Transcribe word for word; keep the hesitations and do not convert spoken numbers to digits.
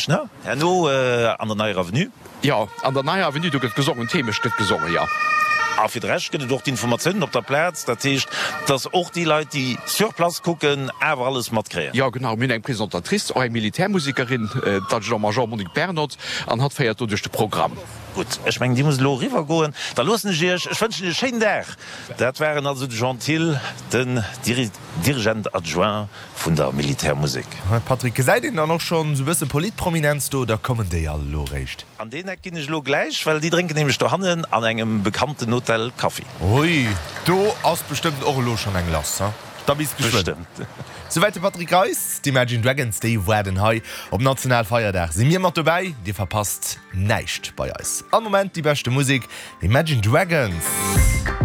Ne? Herno an der Neier Avenue. Jo, an der Neier Avenue, do gëtt gesongen, d'Heemecht gëtt gesongen, jo. A fir de Rescht gëtt et och d'Informatiounen op der Plaz, dat heescht, dass och déi Leit, déi sur place kucken, awer alles matkréien. Jo, genau, mir hunn eng Présentatrice, och eng Militärmusekerin, d'Adjudant-Major Monique Bernoth, an hatt féiert do duerch de Programm. Gutt, ech mengen, Dir musst elo eriwwer goen. Da loossen ech Iech. Ech wënschen Iech e schéinen Dag. Dat waren also de Jean Thill, den Dirigent adjoint vun der Militärmusek. Patrick, gesäit een dann och schonn esou bësse Politprominenz do oder kommen déi all elo réischt? An deen Eck ginn ech elo gläich, well déi drénken nämlech dohannen an engem bekannten Hotel Kaffi. Ui, do ass bestëmmt och elo schonn eng lass, ha? Da bis geschwënn. Bestëmmt. Souwäit de Patrick Reis. D'Imagine Dragons, déi waarden hei op Nationalfeierdag. Si mir mat dobäi? Dir verpasst näischt bei eis. Am Moment déi beschte Musek, Imagine Dragons.